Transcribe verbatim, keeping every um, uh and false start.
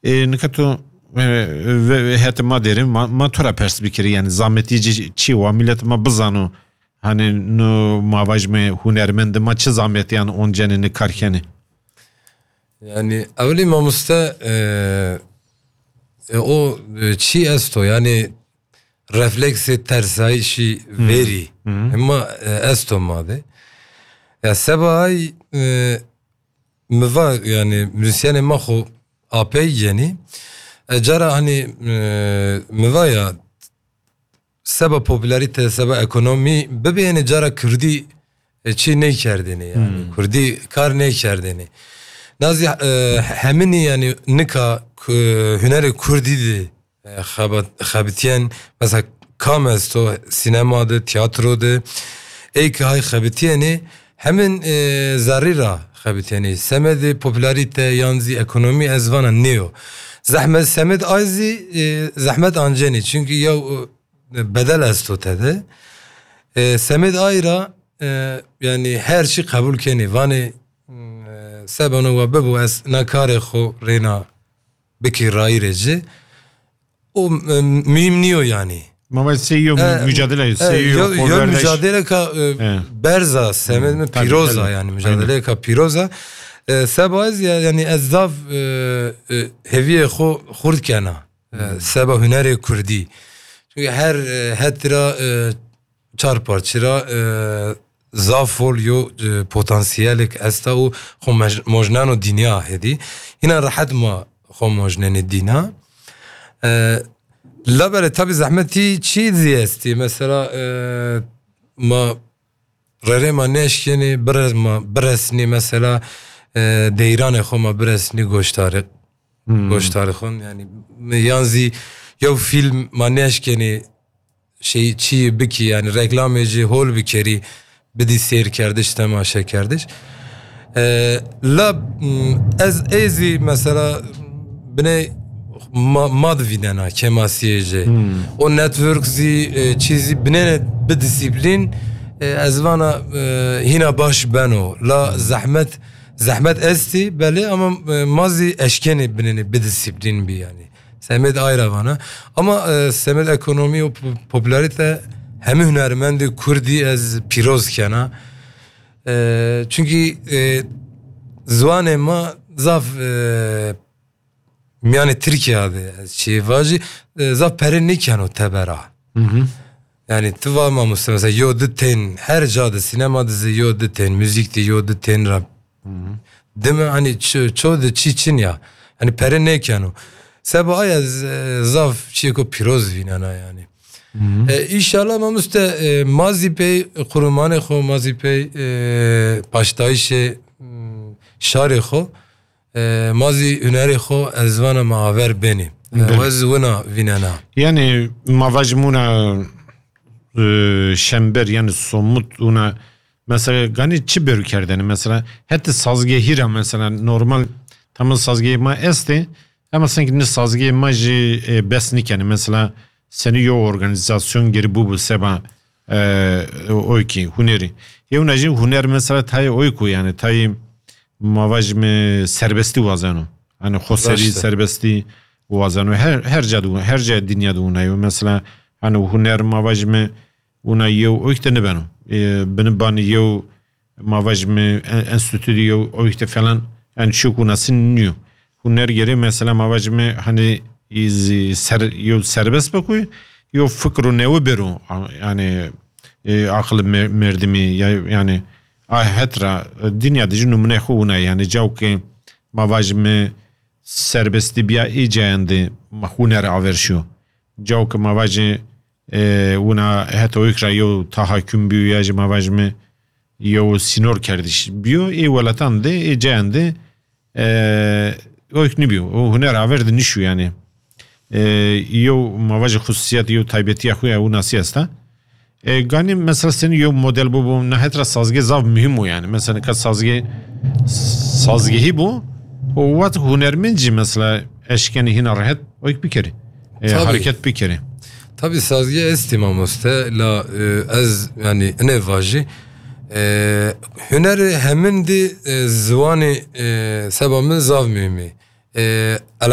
E, nika tu, e, ve, ve hete ma derin, ma, ma tu ra pers bikiri, yani zametî ci çi wa, millet ma bizano, hani nu ma vajme hunermend ma çi zametiyan oncenini karkeni. Yani evlî mamoste, e, e, o, e, çi esto, yani refleksê tersayîşî verî. Hema, e, esto ma de. Ya seba ay, e, mi va, yani müzisyenê ma xo apey yenî. E, cara hani, e, mi va ya seba popülarite, seba ekonomî bibe, yani cara Kurdî, e, çi nêkerdêne yani. Kurdî kar nêkerdêne. Nazî, e, heminî yani nika, e, hunerê Kurdî de, e, xebat-, xebitiyen, mesela kam esto, sînema de, tiyatro de, ey ki hay xebitiyeni, hemin, e, zerrî ra xebitiyeni. Semedê popülarite yan zî ekonomî ez vana nêyo. Zehmet semed ay zî, e, zehmet anceni. Çünkü ya, e, bedel esto tede. E, semed ay ra, e, yani her çi qebul kenî. Vanê, e, sebano wa bibo ez na karê xo rêna bikî rayîrê ci. O, e, mühim niyo yani. Ma vaj sê yo, e, mücadele, e, sê yo, yo, yo mücadele ka, e, berza, semed mi pîroza yani, mücadele ka pîroza. E, seba ez ya, yani ez zaf, e, e, heviyê xo xurt kena. E, seba hunerê Kurdî. Çünkü her, e, het ra, e, çar parçî ra, e, zaf fol yo, e, potansiyelek esta û xo mej-, mojneno dinya hêdî. Hîna rehet ma xo mojnenê dîna. E, labelê tabî zehmetî çî zî estî. Mesela, e, ma rerê ma neşkenî, bire-, ma biresnî mesela, e, deyranê xo ma biresnî goştarê, goştarê xo. Yani yan zî yew fîlm ma neşkenî şey çi bikî, yani reklamê jî hol bikerî, bidî sêr kerdiş, temaşe kerdiş. E, la, m, ez ê zî mesela binê ma, ma divînena kemasiyê jî. O network zî, e, çî zî binêne bi disiplîn, e, ez vana, e, hîna baş beno. La zehmet, zehmet estî belê ama, e, ma zî eşkenê binêne bi disiplîn bî yani. Semed ay ra vana. Ama, e, semed ekonomî û po-, popülarite hemî hunermendê Kurdî ez pîroz kena. E, çünkü, e, ziwanê ma zaf, e, miyanê Tirkiye de ez çi vajî, e, zaf pere nêkeno tebera. Yani tu va mamoste mesela yo di tên her ca de, sînema de zî yo di tên, muzîk de yo di tên ra. Dime hani ço, ço de çi çin ya. Hani pere nêkeno. Seba ay ez, e, zaf çiyeko pîroz vînena yani. E, înşallah mamoste, e, ma zî pey qurumanê xo, ma zî pey, e, paştayişê, m, şarê xo, e, ma zî hunerê xo ez vana ma aver benî. E, ez wina vînena. Yani ma vajim wina, e, şember yani somut wina. Mesela ganî çi berû kerdene? Mesela heti sazgehî ra mesela normal tamam sazgehê ma estê, ama sanki ne sazgehê ma jî, e, bes nikene. Mesela seni yo organizasyon geri bu bu seba, e, o ki hunerî. Yewna jî huner mesela tayê oy ku yani tayê ma vajime serbestî wazeno. Hani xoseri serbestî wazeno. Her, her ca de, her ca dinya de wina yo. Mesela hani huner ma vajime wina yew oyk de nibeno. E, bini bani yew ma vajime en-, enstitû de yew oyk de falan, yani çiyo ku nasin niyo. Huner gere mesela ma vajime hani iz ser, yew serbest bikuy, yew fikr û newe bero, a-, yani, e, aqil me-, merdimî, ya, yani, a het ra, e, dinya de jî numune xwe wina, yani, caw ke ma vajime serbestî biya ê cayan de ma huner aver şiyo. Caw ke ma vajî, e, wina heta oyk ra yew tahakküm bîyo ya jî ma vajime yew sînor kerdiş bîyo. Ê welatan de, ê cayan de, e, oyk nibîyo. O huner aver de nişû yani. E, yew ma vajî xususiyet, yew taybetiya xwe ya winasî esta. E, ganî mesela seni yew model bû bû, na het ra sazgeh zaf muhim o yani. Mesela ka sazgeh, sazgehî bû, o wet hunermend jî mesela eşkenî hîna rehet oyk bikerî. E, hareket bikerî. Tabii sazgeh estî mamoste, la, e, ez yani ne vajî. E, hunerê hemin dî, e, ziwanê, e, seba min zaf muhim e. E,